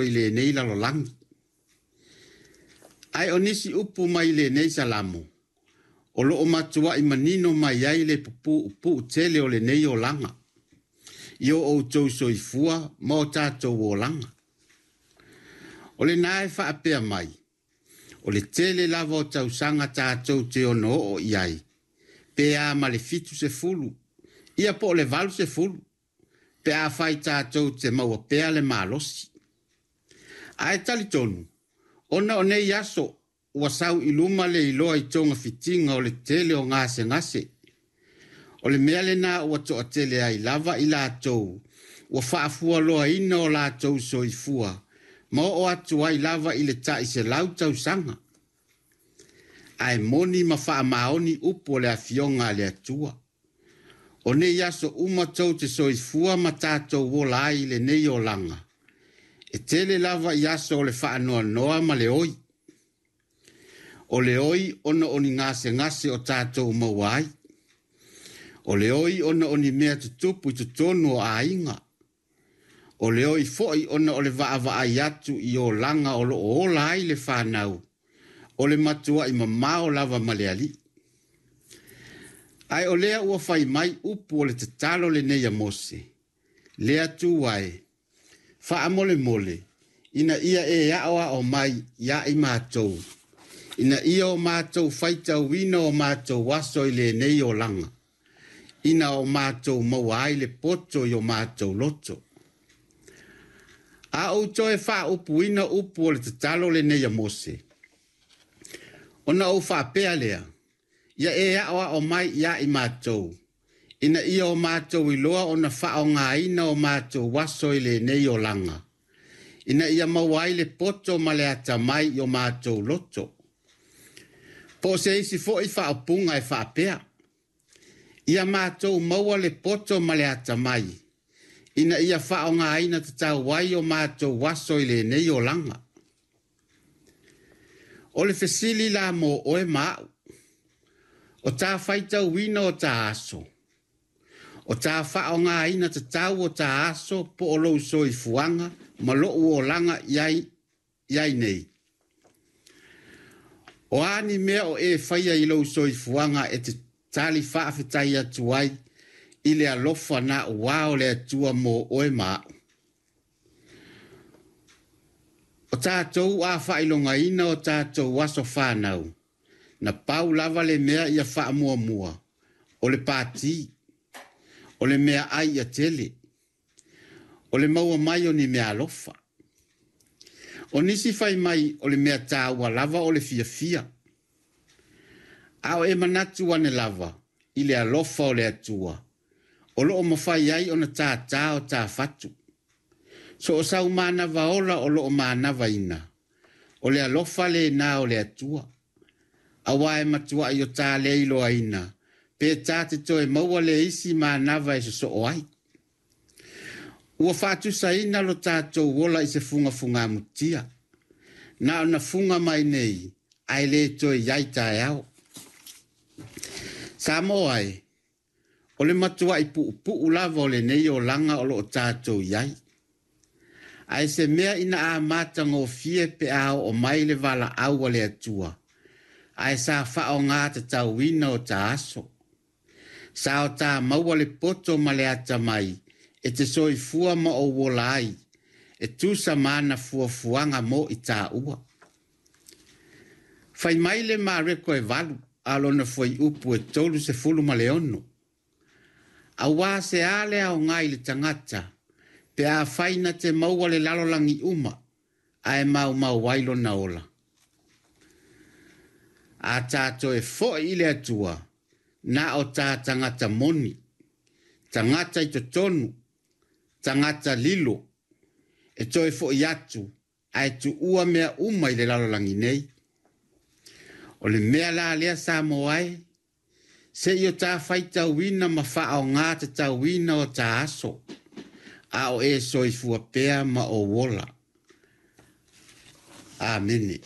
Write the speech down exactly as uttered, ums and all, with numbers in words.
i lenei lalolagi. Ae o nisi upu mai lenei Salamo, o loo matuai manino mai ai le puupuu tele o lenei olaga, i o outou soifua ma o tatou olaga. O lena e faapea mai, o le tele lava o tausaga tatou te ono oo i ai, pe a ma le fitu sefulu, ia po o le valu sefulu, pe afai tatou te maua pea le malosi. Ae talitonu, ona o nei aso ua sau i luma le iloa i togafitiga o le tele o gasegase. O le mea lena ua toatele ai lava i latou ua faafualoaina o latou soifua ma oo atu ai lava i le tai selau tausaga. Ae moni ma faamaoni upu o le Afioga a le Atua. O nei aso uma tou te soifua ma tatou ola ai i lenei olaga, e tele lava i aso o le faanoanoa ma le oi. O le oi ona o ni gasegase o tatou maua ai. O le oi ona o ni mea tutupu i totonu o aiga. O le oi foi ona o le vaavaai atu i olaga o loo ola ai le fanau, o le matuai mamao lava ma le Alii. Ae o lea ua fai mai upu o le tatalo lenei a Mose, le Atua e, faamolemole ina ia e aoao mai ia i matou, ina ia o matou faitauina o matou aso i lenei olaga, ina o matou maua ai le poto i o matou loto. A ou toe faaupuina upu o le tatalo lenei a Mose, ona ou faapea lea, ia e aoao mai ia i matou, ina ia o matou iloa ona faaaogaina o matou aso i lenei olaga, ina ia maua ai le poto ma le atamai i o matou loto. Po o se isi foi faaupuga e faapea, ia matou maua le poto ma le atamai, ina ia faaaogaina tatau ai o matou aso i lenei olaga. O le fesili la mo oe ma au, o tā faitauina o tā aso, o tā faaaogaina tatau o tā aso po o lou soifuaga ma lou olaga i ai, i ai nei. O a ni mea o e faia i lou soifuaga e te tali faafetai atu ai i le alofa na ua o le Atua mo oe ma au. O tatou a faailogaina o tatou aso fanau, na pau lava le mea ia faamuamua, o le pati, o le mea ai ia tele, o le maua mai o ni mea alofa. O nisi fai mai o le mea tāua lava o le fiafia. A o e manatu ane lava i le alofa o le Atua, o loo mafai ai ona tātā o tā fatu. So o sau manava ola o loo manavaina, o le alofa lena o le Atua. Aua e matuai o tā le iloaina, pe tā te toe maua le isi manava e sosoo ai. Ua faatusaina lo tatou ola i se fugafugamutia. Na ona fuga mai nei, ae le toe i ai taeao. Samoa e, o le matuai puupuu lava o lenei olaga o loo tatou i ai. Ae se mea ina a matagofie pe a oo mai le valaau a le Atua, ae sa faaaoga tatauina o ta aso. Sa o tā maua le poto ma le atamai e te soifua ma ou ola ai, e tusa ma ana fuafuaga mo i tāua. Fai mai le Mareko e valu, a lona fuaiupu e tolu sefulu ma le ono. Auā se a le aoga i le tagata, pe afai na te maua le lalolagi uma, ae maumau ai lona ola. A tātou e foi i le Atua, na o tā tagata moni, tagata i totonu, tagata lilo, e toe foi atu, ae tuua mea uma i le lalolagi nei. O le mea la lea Samoa e, se i o tā faitauina ma faaaoga tatauina o tā aso, a o e soifua pea ma ou ola. Amene.